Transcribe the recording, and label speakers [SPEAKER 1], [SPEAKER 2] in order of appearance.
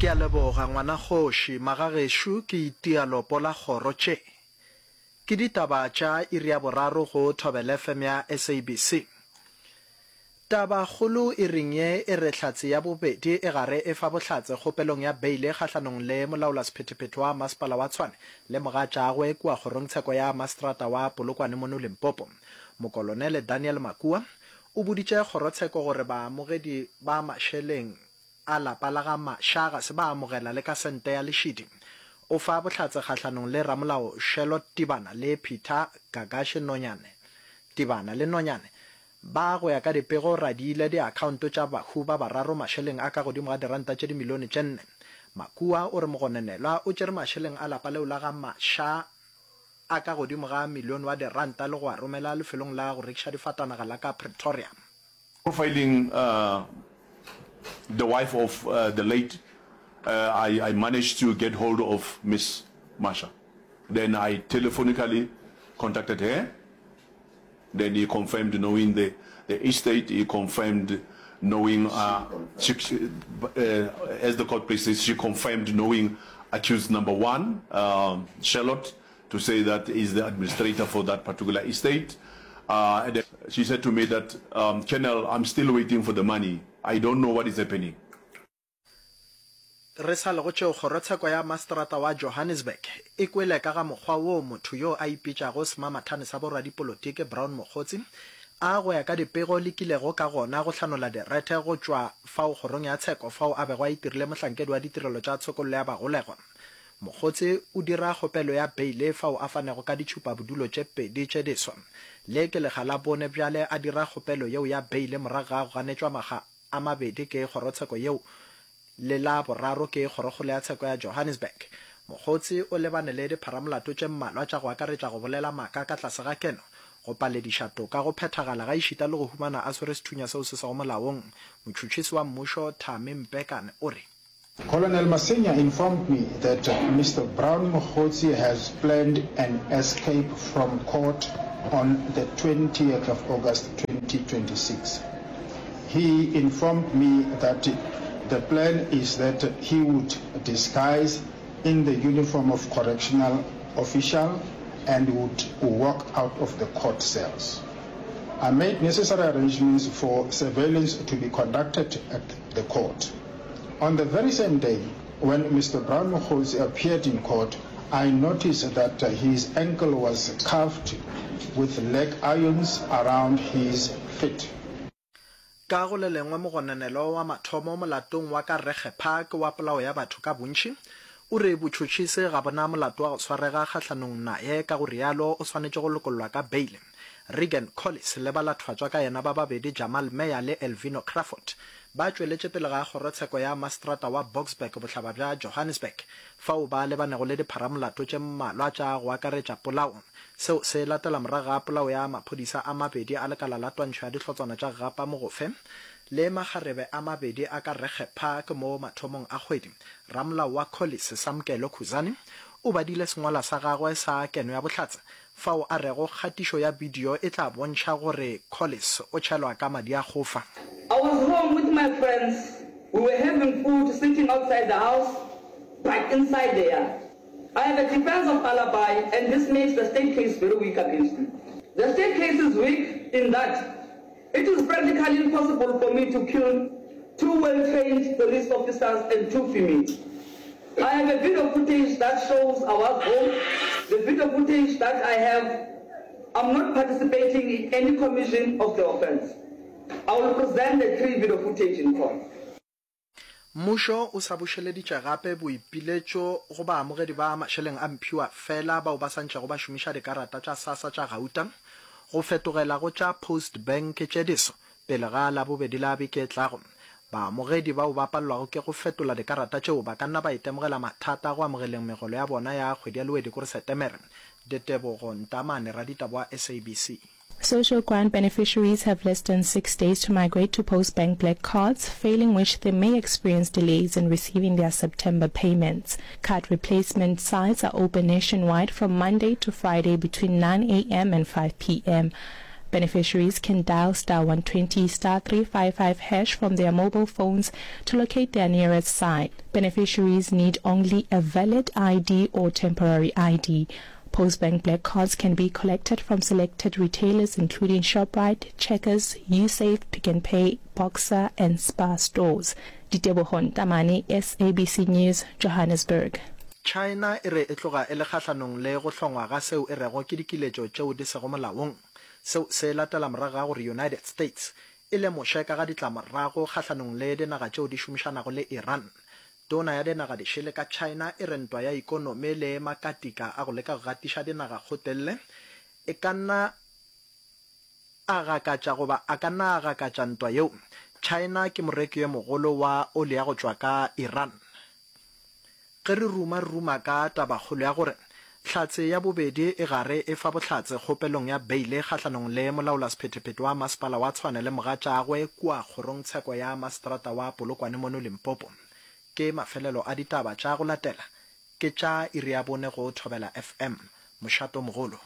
[SPEAKER 1] Ke a leboga ngwana kgoši, magagešo ke itia lopo la kgoro tše. Ke ditaba tša iri ya boraro go Thobela FM ya SABC. Taba kgolo iring ye e re hlatse ya bobedi e gare e fa bohlatse kgopelong ya beile kgahlanong le molaolasephethephethe wa masepala wa Tshwane le mogatšagwe kua kgorongtsheko ya maseterata wa Polokwane mono Limpopo. Mokolonele Daniel Makua o boditše kgorotsheko gore baamogedi ba mašeleng a lapa la ga Masha ga se ba amogela le ka sente ya lešidi. O fa bohlatse kgahlanong le ramolao Sherlot Tibana le Peter Gagashe Nonyane. Tibana le Nonyane ba, go ya ka dipego, radiile diakhaonto tša bahu ba bararo mašeleng a ka godimo ga diranta tše dimilione tše nne. Makua o re mogononelwa o tšere mašeleng a lapa leo la ga Masha a ka godimo ga milione wa diranta le go a romela lefelong la go rekiša difatanaga la ka Pretoria.
[SPEAKER 2] Profiling the wife of the late, I, I managed to get hold of Miss Masha. Then I telephonically contacted her. Then he confirmed knowing the, the estate. He confirmed knowing, uh, she, uh, as the court pleases, she confirmed knowing accused number one, uh, Charlotte, to say that is the administrator for that particular estate. Uh, and she said to me that, um, Colonel, I'm still waiting for the money. I don't know what is happening.
[SPEAKER 1] Re sa le go tšeo, kgorotsheko ya maseterata wa Johannesburg e kwele ka ga mokgwa woo motho yo a ipitšago semamathane sa boradipolotiki Brown Mogotsi a go ya ka dipego lekilego ka gona go hlanola direthe go tšwa fao kgorong ya tsheko fao a bego a itirile mohlankedi wa ditirelo tša tshokollo ya bagolegwa. Mogotsi o dira kgopelo ya beile fao a fanego ka ditšhupabodulo tše pedi tše diswa. Le ke lekga la bone bjale a dira kgopelo yeo ya beile morago ga go ganetšwa makga a mabedi ke kgorotsheko yeo le la boraro ke Kgorokgolo ya Tsheko ya Johannesburg. Mogotsi o lebane le dipharamolato tše mmalwa tša go akaretša go bolela maaka ka tlase ga keno, go palediša toka go phethagala gaešita le go humana a swere sethunya seo se sego molaong. Motšhotšhisi wa mmušo Thami Mpekane o re.
[SPEAKER 3] Colonel Masenya informed me that Mister Brown Mogotsi has planned an escape from court on the 20th of August 2026. He informed me that the plan is that he would disguise in the uniform of correctional official and would walk out of the court cells. I made necessary arrangements for surveillance to be conducted at the court. On the very same day when Mr Brown Mokgotsi appeared in court, I noticed that his ankle was cuffed with leg irons around his feet.
[SPEAKER 1] Ka go le lengwe mogononelwa wa mathomo molatong wa ka Regge Park wa polao ya batho ka bontši o re botšhotšhisi ga bo na molato wa go swarega kgahlanong naye ka go realo o swanetše go lokollwa ka beile. Regan Collis le balathofatšwa ka yena ba babedi Jamal Meyer le Elvino Crawford ba tšweletše pele ga kgorotsheko ya maseterata wa Boksburg bohlaba bja Johannesburg fao ba lebanego le dipharamolato tše mmalwa tša go akaretša polao. Seo se latela morago ga polao ya maphodisa a mabedi a lekala la twantšho ya dihlotswana tša Gapa Mogofe le makgarebe a mabedi a ka Regge Park mo mathomong a kgwedi. Ramolao wa Collis, Samkelo Khuzani, o badile sengwalwa sa gagwe sa keno ya bohlatse fao a rego kgatišo ya bidio e tla bontšha gore Collis o tšhelwa ka madi a gofa.
[SPEAKER 4] I was home with my friends, we were having food sitting outside the house but inside the yard. I have a defense of alibi and this makes the state case very weak against me. The state case is weak in that it is practically impossible for me to kill two well-trained police officers and two females. I have a video footage that shows I was home. The video footage that I have, I'm not participating in any commission of the offense. I will present the three video footage in court.
[SPEAKER 1] Mmušo o sa bušeleditše gape boipiletšo go baamogedi ba mašeleng a mphiwa fela bao ba sa ntšego ba šomiša dikarata tša SASSA tša gauta go fetogela go tša Postbank tše diso Pele ga Labobedi la beke e tlago, baamogedi bao ba palelwago ke go fetola dikarata tšeo ba ka nna ba itemogela mathata go amogeleng megolo ya bona ya kgwedi ya Lewedi kore Setemere. Ditebogo Ntamane, raditaba wa SABC.
[SPEAKER 5] Social grant beneficiaries have less than six days to migrate to Postbank Black cards, failing which they may experience delays in receiving their September payments. Card replacement sites are open nationwide from Monday to Friday between 9 a.m. and 5 p.m. Beneficiaries can dial star 120 star 355 hash from their mobile phones to locate their nearest site. Beneficiaries need only a valid ID or temporary ID. Postbank Black Cards can be collected from selected retailers including Shoprite, Checkers, Usave, Pick n Pay, Boxer and Spar stores. Ditebogo Ntamane, SABC News, Johannesburg.
[SPEAKER 1] China e re e tloga e le kgahlanong le go hlongwa ga seo e rego ke dikiletšo tšeo di sego molaong. Seo se latela morago ga gore United States e lemoše ka ga ditlamorago kgahlanong le dinaga tšeo di šomišanago le Iran. Tona ya dinaga dišele ka China e re ntwa ya ikonomi le makatika a go leka go gatiša dinaga kgotelle e ka nna a gakatša goba a ka nna a gakatša ntwa yeo. China ke moreki yo mogolo wa oli ya go tšwa ka Iran. Ge re ruma re ruma ka tabakgolo ya gore Hlatse ya bobedi e gare e fa bohlatse kgopelong ya beile kgahlanong le molaolasephetephete wa masepala wa Tshwane le mogatšagwe kua kgorongtsheko ya maseterata wa Polokwane mono Limpopo. Ke mafelelo a ditaba tša go latela ke tša iri ya bone go Thobela FM, mošatomogolo.